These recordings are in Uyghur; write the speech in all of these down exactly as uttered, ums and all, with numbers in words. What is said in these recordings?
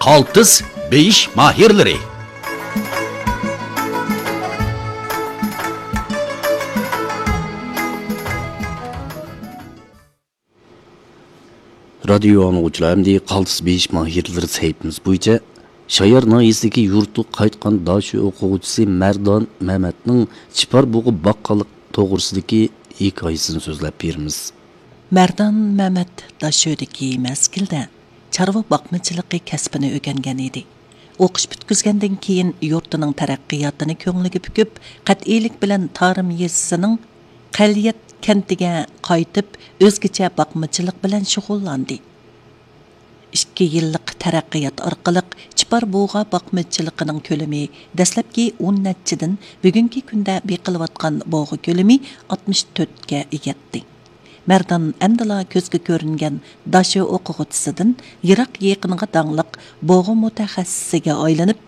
قالتىس بېيىش ماھىرلىرى. رادىيو ئاڭلىغۇچىلار، ئەمدى قالتىس بېيىش ماھىرلىرى سەھىپىمىز بويىچە شايار ناھىيەسىدىكى يۇرتىغا قايتقان داشۆ ئوقۇغۇچىسى مەردان مەمەتنىڭ چىپار بۇغا باققانلىق توغرىسىدىكى ھېكايىسىنى سۆزلەپ بېرىمىز. مەردان مەمەت داشۆدىكى مەزگىلدە چارۋا باقمىچىلىقى كەسپىنى ئۆگەنگەن ئىدى. ئوقۇش پۈتكۈزگەندىن كېيىن يۇرتىنىڭ تەرەققىياتىنى كۆڭلىگە پۈكۈپ، قەتئىيلىك بىلەن تارىم يېزىسىنىڭ قەليەت كەنتىگە قايتىپ، ئۆزگىچە باقمىچىلىق بىلەن شۇغۇللاندى. ئىككى يىللىق تەرەققىيات ئارقىلىق چىپار بۇغا باقمىچىلىقىنىڭ كۆلىمى دەسلەپكى ئون نەچچىدىن بۈگۈنكى كۈندە بېقىلىۋاتقان بۇغا كۆلىمى ئاتمىش تۆتكە يەتتى. مەردان ئەمدىلا كۆزگە كۆرۈنگەن داشۆ ئوقۇغۇچىسىدىن يىراق يېقىنغا داڭلىق بوغا مۇتەخەسسىسىگە ئايلىنىپ،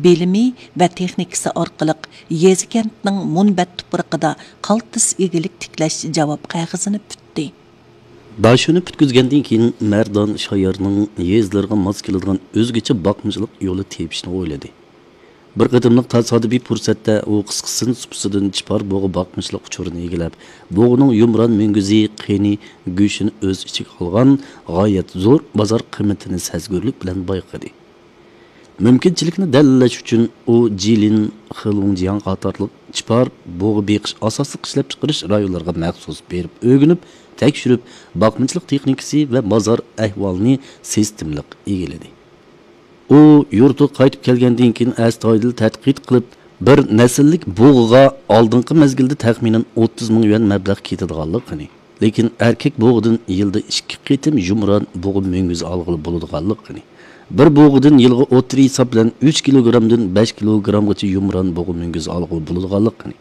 بىلىمى ۋە تېخنىكىسى ئارقىلىق يېزا كەنتنىڭ مۇنبەت تۇپرىقىدا قالتىس ئىگىلىك تىكلەش جاۋاب قەغىزىنى پۈتتى. داشۆنى پۈتكۈزگەندىن كېيىن، مەردان شايارنىڭ يېزىلىرىغا ماس كېلىدىغان ئۆزگىچە باقمىچىلىق يولى تېپىشنى ئويلىدى. بىر قېتىملىق تاسادىپىي پۇرسەتتە ئۇ قىسقا سىن سۇپىسىدىن چىپار بۇغا باقمىچىلىق ئۇچۇرىنى ئىگىلەپ، بۇغىنىڭ يۇمران مۈڭگۈزى، قېنى، گۆشىنى ئۆز ئىچىگە ئالغان غايەت زور بازار قىممىتىنى سەزگۈرلۈك بىلەن بايقىدى. مۇمكىنچىلىكنى دەلىللەش ئۈچۈن ئۇ جىلىن، خېلۇڭجياڭ قاتارلىق چىپار بۇغا بېقىش ئاساسلىق ئىشلەپچىقىرىش رايونلىرىغا مەخسۇس بېرىپ ئۆگىنىپ، تەكشۈرۈپ، باقمىچىلىق تېخنىكىسى ۋە بازار ئەھۋالىنى سىستېمىلىق ئىگىلىدى. ئۇ يۇرتىغا قايتىپ كەلگەندىن كېيىن ئەستايىدىل تەتقىقات قىلىپ، بىر نەسىللىك بۇغىغا ئالدىنقى مەزگىلدە تەخمىنەن ئوتتۇز مىڭ يۈەن مەبلەغ كېتىدىغانلىقىنى، لېكىن ئەركەك بۇغىدىن يىلدا ئىككى قېتىم يۇمران بۇغا مۈڭگۈزى ئالغىلى بولىدىغانلىقىنى، بىر بۇغىدىن يىلغا ئوتتۇرا ھېساب بىلەن ئۈچ كىلوگرامدىن بەش كىلوگرامغىچە يۇمران بۇغا مۈڭگۈزى ئالغىلى بولىدىغانلىقىنى،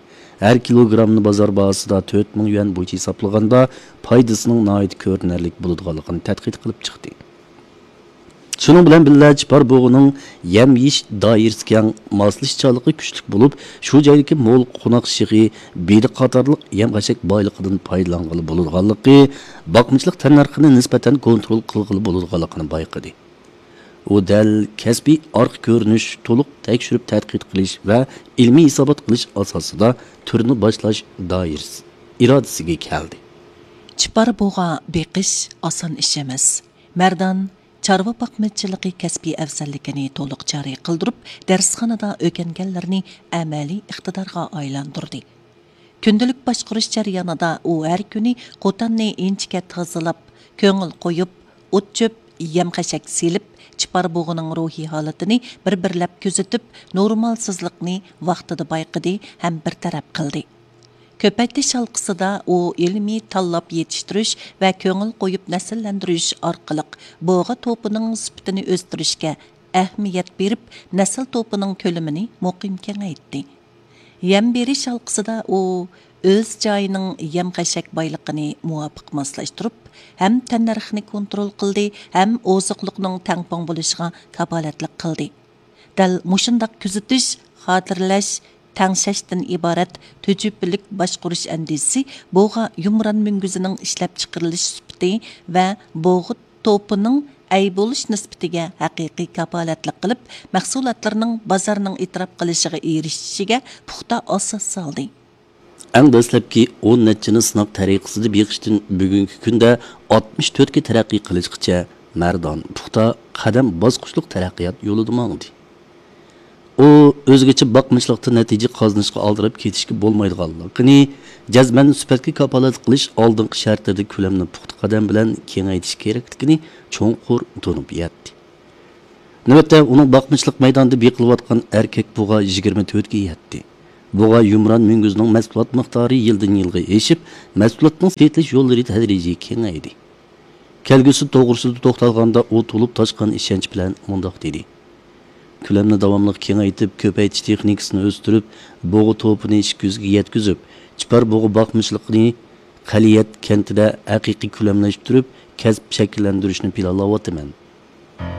ھەر كىلوگرامنى بازار باھاسىدا تۆت مىڭ يۈەن بويىچە ھېسابلىغاندا، پايدىسىنىڭ ناھايىتى كۆرۈنەرلىك بولىدىغانلىقىنى تەتقىق قىلىپ چىقتى. شۇنىڭ بىلەن بىللە، چىپار بۇغىنىڭ يەم يېيىش دائىرىسى كەڭ، ماسلىشىشچانلىقى كۈچلۈك بولۇپ، شۇ جايدىكى مول قوناق شېغى، بېدە قاتارلىق يەم خەشەك بايلىقىدىن پايدىلانغىلى بولىدىغانلىقى، باقمىچىلىق تەننەرخىنى نىسبەتەن كونترول قىلغىلى بولىدىغانلىقىنى بايقىدى. ئۇ دەل كەسپىي ئارقا كۆرۈنۈش، تولۇق تەكشۈرۈپ تەتقىق قىلىش ۋە ئىلمىي ھېسابات قىلىش ئاساسىدا تۈرنى باشلاش دائىرىسى، ئىرادىسىگە كەلدى. چىپار بۇغا بېقىش ئاسان ئىش ئەمەس. مەردان چارۋا باقمىچىلىقى كەسپىي ئەۋزەللىكىنى تولۇق جارى قىلدۇرۇپ، دەرسخانىدا ئۆگەنگەنلىرىنى ئەمەلىي ئىقتىدارغا ئايلاندۇردى. كۈندىلىك باشقۇرۇش جەريانىدا ئۇ ھەر كۈنى قوتاننى ئىنچىكە تازىلاپ، كۆڭۈل قويۇپ، ئوت-چۆپ، يەم-خەشەك سېلىپ، چىپار بۇغىنىڭ روھىي ھالىتىنى بىر-بىرلەپ كۆزىتىپ، نورمالسىزلىقنى ۋاقتىدا بايقىدى ھەم بىر تەرەپ قىلدى. كۆپەيتىش ھالقىسىدا ئۇ ئىلمىي تاللاپ يېتىشتۈرۈش ۋە كۆڭۈل قويۇپ نەسىللەندۈرۈش ئارقىلىق بۇغا توپىنىڭ سۈپىتىنى ئۆستۈرۈشكە ئەھمىيەت بېرىپ، نەسىل توپىنىڭ كۆلىمىنى مۇقىم كېڭەيتتى. يەم بېرىش ھالقىسىدا ئۇ ئۆز جايىنىڭ يەم-خەشەك بايلىقىنى مۇۋاپىق ماسلاشتۇرۇپ، ھەم تەننەرخنى كونترول قىلدى، ھەم ئوزۇقلۇقنىڭ تەڭپۇڭ بولۇشىغا كاپالەتلىك قىلدى. دەل مۇشۇنداق كۆزىتىش، خاتىرىلەش، تەڭشەشتىن ئىبارەت تۈجۈپىلىك باشقۇرۇش ئەندىزىسى بۇغا يۇمران مۈڭگۈزىنىڭ ئىشلەپچىقىرىلىش سۈپىتى ۋە بۇغا توپىنىڭ ئەي بولۇش نىسبىتىگە ھەقىقىي كاپالەتلىك قىلىپ، مەھسۇلاتلىرىنىڭ بازارنىڭ ئېتىراپ قىلىشىغا ئېرىشىشىگە پۇختا ئاساس سالدى. ئەڭ دەسلەپكى ئون نەچچىنى سىناق تەرىقىسىدە بېقىشتىن بۈگۈنكى كۈندە ئاتمىش تۆتكە تەرەققىي قىلىشقىچە مەردان پۇختا قەدەم باسقۇچلۇق تەرەققىيات يولىدا ماڭدى. ئۇ ئۆزگىچە باقمىچىلىقتا نەتىجە قازىنىشقا ئالدىراپ كېتىشكە بولمايدىغانلىقىنى، جەزمەن سۈپەتكە كاپالەتلىك قىلىش ئالدىنقى شەرتلىرىدە كۆلەمنى پۇختا قەدەم بىلەن كېڭەيتىش كېرەكلىكىنى چوڭقۇر تونۇپ يەتتى. نۆۋەتتە ئۇنىڭ باقمىچىلىق مەيدانىدا بېقىلىۋاتقان ئەركەك بۇغا يىگىرمە تۆتكە يەتتى. بۇغا يۇمران مۈڭگۈزىنىڭ مەھسۇلات مىقدارى يىلدىن يىلغا ئېشىپ، مەھسۇلاتنىڭ سېتىلىش يوللىرى تەدرىجىي كېڭەيدى. كەلگۈسى توغرىسىدا توختالغاندا، ئۇ تولۇپ تاشقان ئىشەنچ بىلەن مۇنداق دېدى: كۆلەمنى داۋاملىق كېڭەيتىپ، كۆپەيتىش تېخنىكىسىنى ئۆستۈرۈپ، بۇغا توپىنى ئىككى يۈزگە يەتكۈزۈپ، چىپار بۇغا باقمىچىلىقىنى قەلىيەت كەنتىدە ھەقىقىي كۆلەملەشتۈرۈپ، كەسىپ شەكىللەندۈرۈشنى پىلانلاۋاتىمەن.